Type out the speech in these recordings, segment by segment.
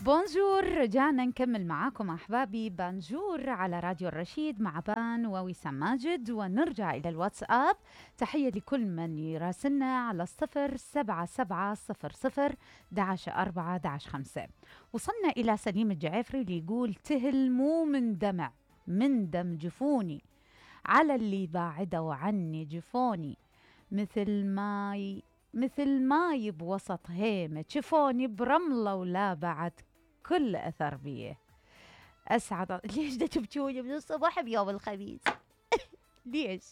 بونجور، رجعنا نكمل معاكم أحبابي بانجور على راديو الرشيد مع بان ووسام ماجد، ونرجع إلى الواتساب. تحية لكل من يراسلنا على 07700 11 4 11 5. وصلنا إلى سليم الجعفري اللي يقول تهل مو من دمع، من دم جفوني على اللي بعدوا عني جفوني، مثل ماي بوسط هيمة شفوني برملة ولا بعد كل أثر بيه. أسعد ليش دا تبكوني من الصباح بيوم الخميس؟ ليش؟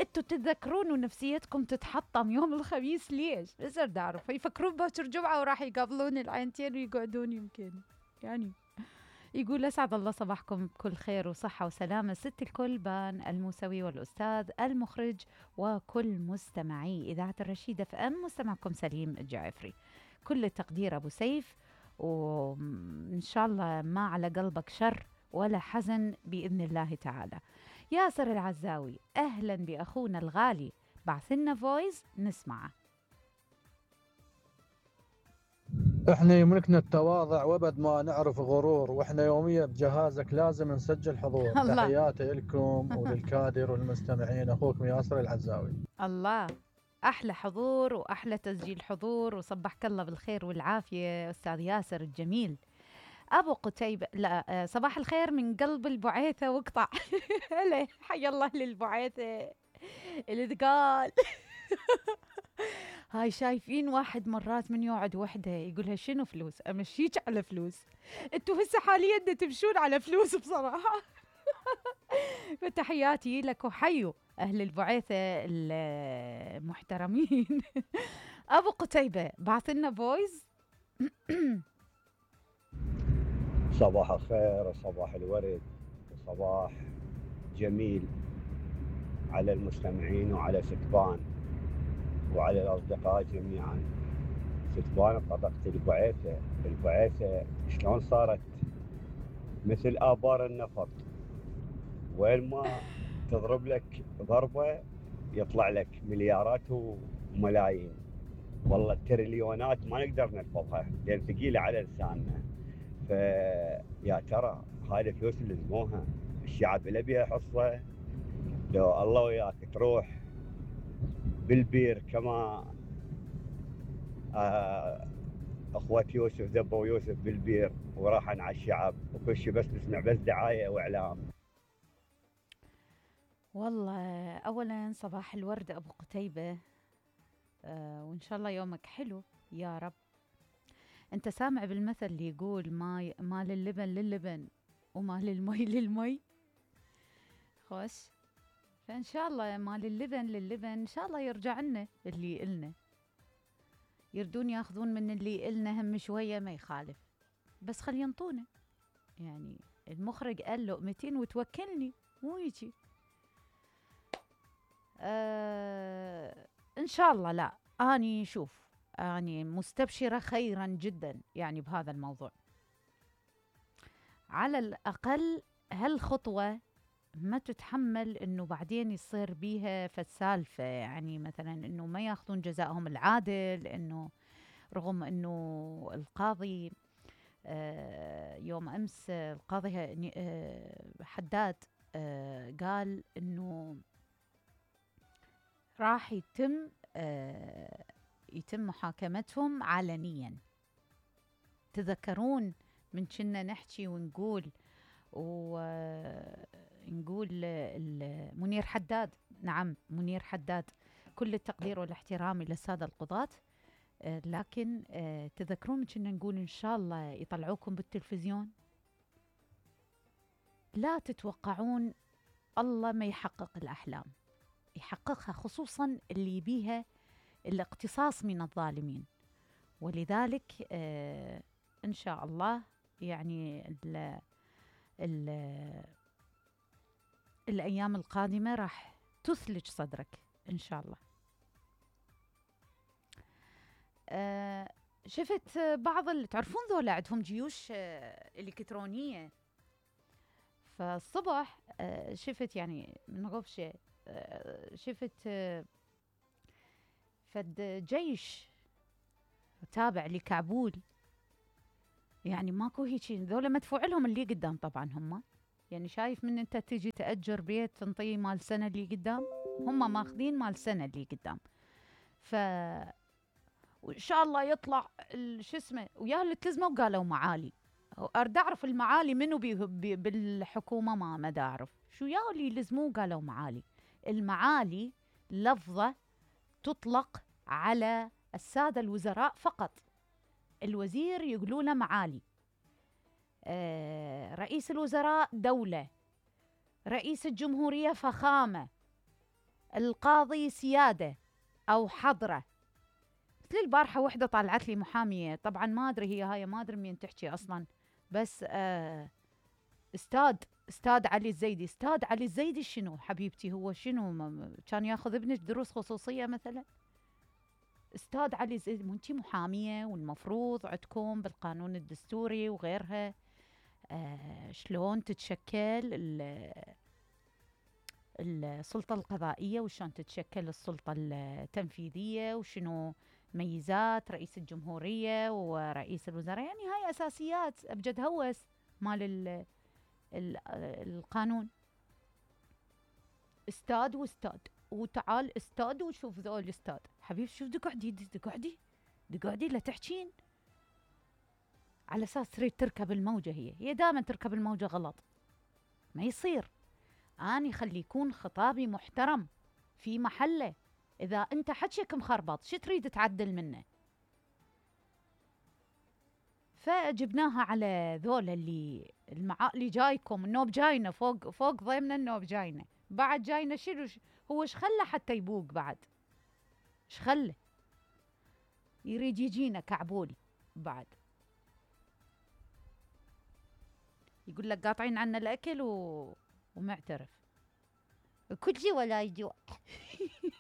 انتوا تتذكرون ونفسيتكم تتحطم يوم الخميس ليش؟ بس أرد أعرف يفكرون باكر جمعة وراح يقابلون العينتين ويقعدون يمكن يعني. يقول أسعد الله صباحكم بكل خير وصحة وسلامة ست الكل، بان الموسوي والأستاذ المخرج وكل مستمعي إذاعة الرشيدة FM. مستمعكم سليم الجعفري، كل التقدير أبو سيف، وإن شاء الله ما على قلبك شر ولا حزن بإذن الله تعالى. ياسر العزاوي أهلا بأخونا الغالي، بعثلنا فويس نسمعه. احنا يملكنا التواضع وابد ما نعرف غرور، واحنا يوميا بجهازك لازم نسجل حضور. تحياتي لكم وللكادر والمستمعين، اخوكم ياسر العزاوي. الله، احلى حضور واحلى تسجيل حضور، وصبحك الله بالخير والعافيه استاذ ياسر الجميل. ابو قتيبة، لا صباح الخير من قلب البعيثه واقطع. هلا حي الله للبعيثه الثقال. هاي شايفين واحد مرات من يقعد وحده يقولها شنو فلوس، امشيك على فلوس. انتوا هسه حاليا تمشون على فلوس بصراحه. فتحياتي لك وحيوا اهل البعيثه المحترمين. ابو قتيبة بعث لنا فويس. صباح الخير وصباح الورد وصباح جميل على المستمعين وعلى ستبان وعلى الأصدقاء جميعا. ستبان بطاقة البعيثة شلون صارت مثل آبار النفط، وين ما تضرب لك ضربة يطلع لك مليارات وملايين، والله التريليونات ما نقدر نحفظها لأن ثقيلة على لساننا. فيا ترى هاي الفلوس اللي لزموها الشعب اللي بيها حصة، لو الله وياك تروح بالبير كما اخوة يوسف ذبوا يوسف بالبير وراحن على الشعب وكل شيء، بس نسمع بس دعاية واعلام. والله اولا صباح الورد ابو قتيبة، وان شاء الله يومك حلو يا رب. انت سامع بالمثل اللي يقول ما للبن للبن وما للمي للمي؟ خوش، فان شاء الله ما للبن للبن، ان شاء الله يرجع لنا اللي إلنا، يردون ياخذون من اللي إلنا هم شويه ما يخالف، بس خلي ينطونا. يعني المخرج قال لقمتين وتوكلني، مو يجي. ان شاء الله. لا اني شوف، اني مستبشره خيرا جدا يعني بهذا الموضوع. على الاقل هالخطوه ما تتحمل انه بعدين يصير بيها فالسالفه، يعني مثلا انه ما ياخذون جزائهم العادل، انه رغم انه القاضي يوم امس القاضي حداد قال انه راح يتم محاكمتهم علنيا. تذكرون من كنا نحكي ونقول منير حداد، نعم منير حداد، كل التقدير والاحترام للسادة القضاة، لكن تذكرون من كنا نقول إن شاء الله يطلعوكم بالتلفزيون. لا تتوقعون الله ما يحقق الأحلام، يحققها، خصوصا اللي بيها الاقتصاص من الظالمين. ولذلك إن شاء الله يعني الأيام القادمة راح تثلج صدرك إن شاء الله. شفت بعض اللي تعرفون ذولا عندهم جيوش إلكترونية، فالصبح شفت يعني من غفشة شفت فد جيش تابع لكعبول يعني ماكو هيجي، ذولا مدفوع لهم اللي قدام طبعا هم. يعني شايف من انت تجي تأجر بيت تنطيه مال سنة اللي قدام، هم ماخذين مال سنة اللي قدام. ف وان شاء الله يطلع شو اسمه وياه اللي تلزموا قالوا معالي. ارد اعرف المعالي منو بالحكومه، ما دا اعرف شو ياه اللي يلزموه قالوا معالي. المعالي لفظه تطلق على الساده الوزراء فقط. الوزير يقولوا له معالي، رئيس الوزراء دوله، رئيس الجمهوريه فخامه، القاضي سياده او حضره. مثل البارحة وحدة طالعت لي محامية، طبعا ما أدري هي هاي، ما أدري مين تحكي أصلا، بس أستاذ علي الزيدي. أستاذ علي الزيدي شنو حبيبتي؟ هو شنو كان ياخذ ابنك دروس خصوصية مثلا؟ أستاذ علي الزيدي، مو أنتي محامية والمفروض عندكم بالقانون الدستوري وغيرها شلون تتشكل السلطة القضائية وشلون تتشكل السلطة التنفيذية وشنو ميزات رئيس الجمهورية ورئيس الوزراء. يعني هاي أساسيات أبجد هوس مال القانون. استاذ واستاذ وتعال استاذ وشوف ذول استاذ. حبيبي شوف دقعدي لا تحكين على أساس تريد تركب الموجة. هي دائما تركب الموجة غلط، ما يصير. أني خلي يكون خطابي محترم في محله. إذا أنت حكيك مخربط شو تريد تعدل منه؟ فجبناها على ذول اللي جايكم النوب جاينا فوق ضيمنا النوب جاينا بعد جاينا شنو هو ايش خله حتى يبوق بعد؟ ايش خله؟ يريد يجينا كعبول بعد، يقول لك قاطعين عنا الأكل ومعترف كل شيء ولا يجوع.